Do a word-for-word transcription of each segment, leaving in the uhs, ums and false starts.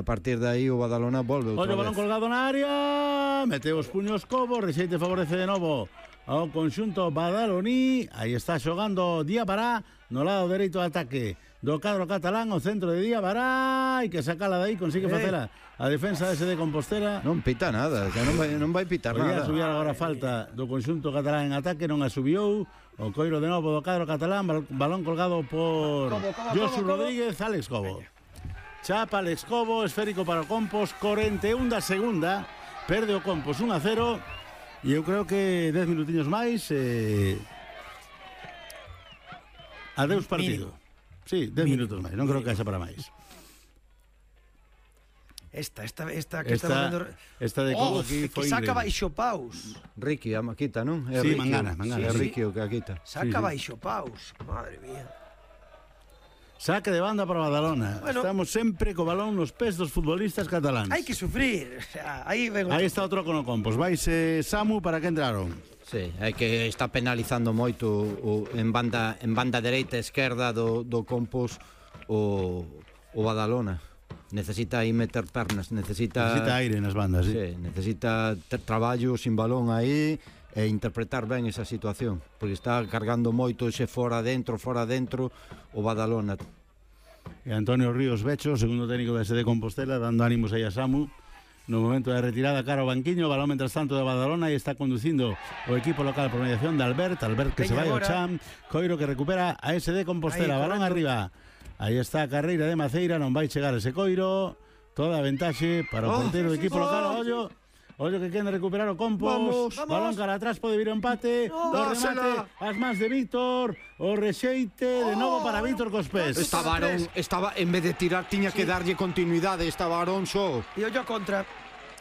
partir de aí o Badalona volve outra Olha o vez. balón colgado na área, meteu os puños Cobo, Rexeite favorece de novo ao conxunto badaloní. Aí está xogando Diabará no lado dereito do ataque do cadro catalán, o centro de Diabará, e que sacala de aí, consigue facela a defensa dese de Compostela. Non pita nada, que non vai, non vai pitar Podía nada. subir agora a falta do conxunto catalán en ataque, non a subiu. O coiro de novo do cadro catalán, balón colgado por Josu Rodríguez, Alex Cobo. Chapa Alex Cobo, esférico para o Compos, cuarenta y uno da segunda, perde o Compos uno a cero, e eu creo que dez minutiños máis, eh... adeus partido. Sí, dez minutos máis, non creo que haxa para máis. Esta, esta, esta que Esta, está dando... esta de Cobo Oh, aquí que foi saca increíble. baixo paus. Ricky a quita, non? É Sí, Ricky, Mangana, Mangana. É Sí, Ricky o que a quita. Saca Sí, sí. baixo paus. Madre mía. Saque de banda para Badalona. Bueno. Estamos sempre co balón nos pés dos futbolistas cataláns. Hai que sufrir. O sea, aí ven Aí está outro con o Compos. Vaise Samu para que entraron. Sí, é que está penalizando moito o, en banda en banda dereita e esquerda do, do Compos o, o Badalona. Necesita aí meter pernas, necesita... Necesita aire nas bandas, sí. Sí, necesita ter traballo sin balón aí e interpretar ben esa situación, porque está cargando moito ese fora dentro, fora dentro o Badalona. E Antonio Ríos Becho, segundo técnico da S D Compostela, dando ánimos aí a Samu no momento de retirada cara ao banquiño. Balón mentras tanto de Badalona e está conducindo o equipo local por mediación de Albert Albert que se Veña vai ao agora. Cham, Coiro que recupera a S D Compostela. Aí, Balón correcto. arriba, aí está a carreira de Maceira, non vai chegar ese Coiro, toda a ventaxe para o Oh, portero do sí, equipo sí, local. sí. Ollo, ollo que queren recuperar o Compos. Vamos, Balón vamos. cara atrás, pode vir o empate. No, o remate, dásela. as mans de Víctor, o rexeite de novo para Víctor cos pés. Esta Barón, estaba en vez de tirar tiña que darlle continuidade, esta Barón só. E ollo a contra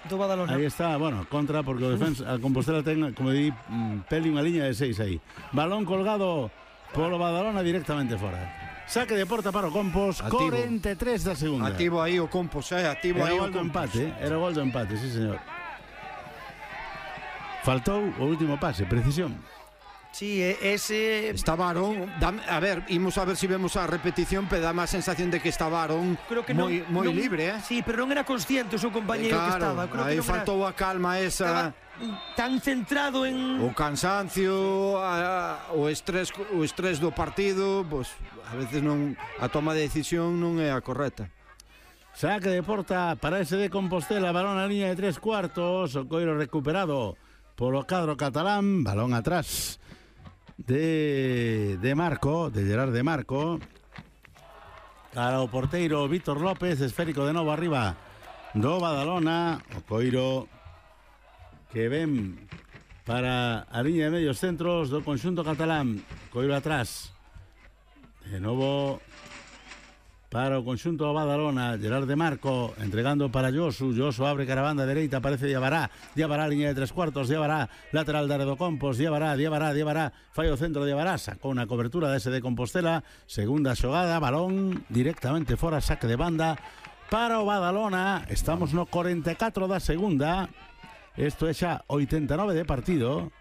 do Badalona. Aí está, bueno, contra porque o defensa a Compostela ten, como di, mm, peli unha liña de seis aí. Balón colgado polo Badalona directamente fora. Saque de porta para o Compos, Activo. cuarenta e tres da segunda. Activo aí o Compos, eh, activo Era aí o o gol do Compos. empate, eh? Era o gol do empate, sí, señor. Faltou o último pase, precisión. Sí, ese... Esta Barón, dame, a ver, imos a ver si vemos a repetición, pero dá má sensación de que esta Barón Creo que non, moi, moi non- libre, eh? Sí, pero non era consciente o seu compañeiro que Claro, estaba. Creo aí que non faltou a calma era, estaba esa, tan centrado en... o cansancio, a, a, o estrés, o estrés do partido, pois a veces non a toma de decisión non é a correcta. Saque de porta para ese de Compostela, balón a línea de tres cuartos, o Coiro recuperado polo cadro catalán, balón atrás de, de Marco, de Gerard de Marco, cara o porteiro Víctor López, esférico de novo arriba do Badalona, o Coiro que ven para a línea de medios centros do conxunto catalán, Coiro atrás, de novo para o conxunto do Badalona, Gerard de Marco entregando para Josu, Josu abre caravanda dereita, aparece Diabará, Diabará línea de tres cuartos, Diabará lateral de do Compos, Diabará, Diabará, Diabará, fai o centro de Diabará, sacou unha cobertura de ese de Compostela, segunda xogada, balón directamente fora, saque de banda para o Badalona. Estamos no cuarenta e catro da segunda, isto é xa oitenta e nove de partido,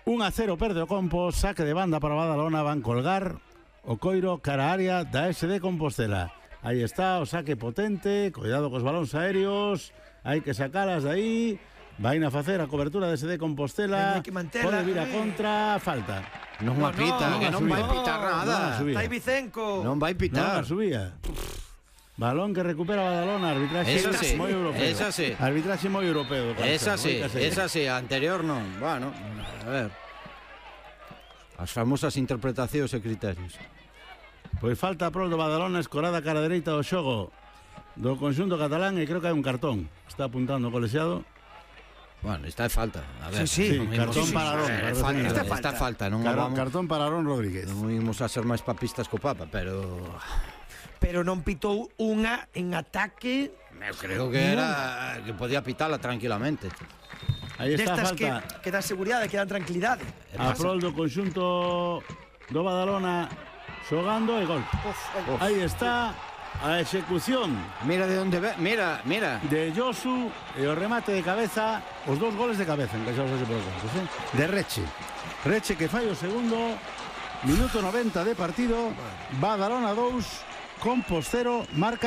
un a cero perde o Compos, saque de banda para o Badalona, van colgar o Coiro cara a área da S D Compostela. Aí está o saque potente, cuidado cos balóns aéreos, hai que sacalas de aí, vai na facer a cobertura da S D Compostela, Hai que mantela, pode vir a eh. contra, falta. Non No, a pita, no, que non non a vai subir. pitar Non a nada. subir. Está aí Vicenco. Non vai Non pitar. a subía. Balón que recupera Badalona, arbitraxe Esa sí, moi europeo. esa sí. Arbitraxe moi europeo. Esa sí, moi caseiro. esa sí, a anterior non. Bueno, a ver. As famosas interpretacións e criterios. Pois falta prol do Badalona, escorada cara dereita do xogo do conxunto catalán e creo que hai un cartón. Está apuntando o colexiado. Bueno, esta é falta. A ver, Sí, sí, non cartón imos- para Aarón, É claro, falta, sí. Esta esta falta. falta, non Car vamos, cartón para Aarón Rodríguez. non imos a ser máis papistas co Papa, pero Pero non pitou unha en ataque eu creo que era que podía pitala tranquilamente. Aí está a destas que, falta que dá seguridade, que dan tranquilidade. a prol do conxunto do Badalona xogando e gol. Uf, ai. Aí está a execución Mira de onde ve, mira, mira. de Josu e o remate de cabeza, os dous goles de cabeza encaixados ese por contos, eh? De Reche. Reche que fai o segundo, minuto noventa de partido, Badalona dous, Compos cero, marca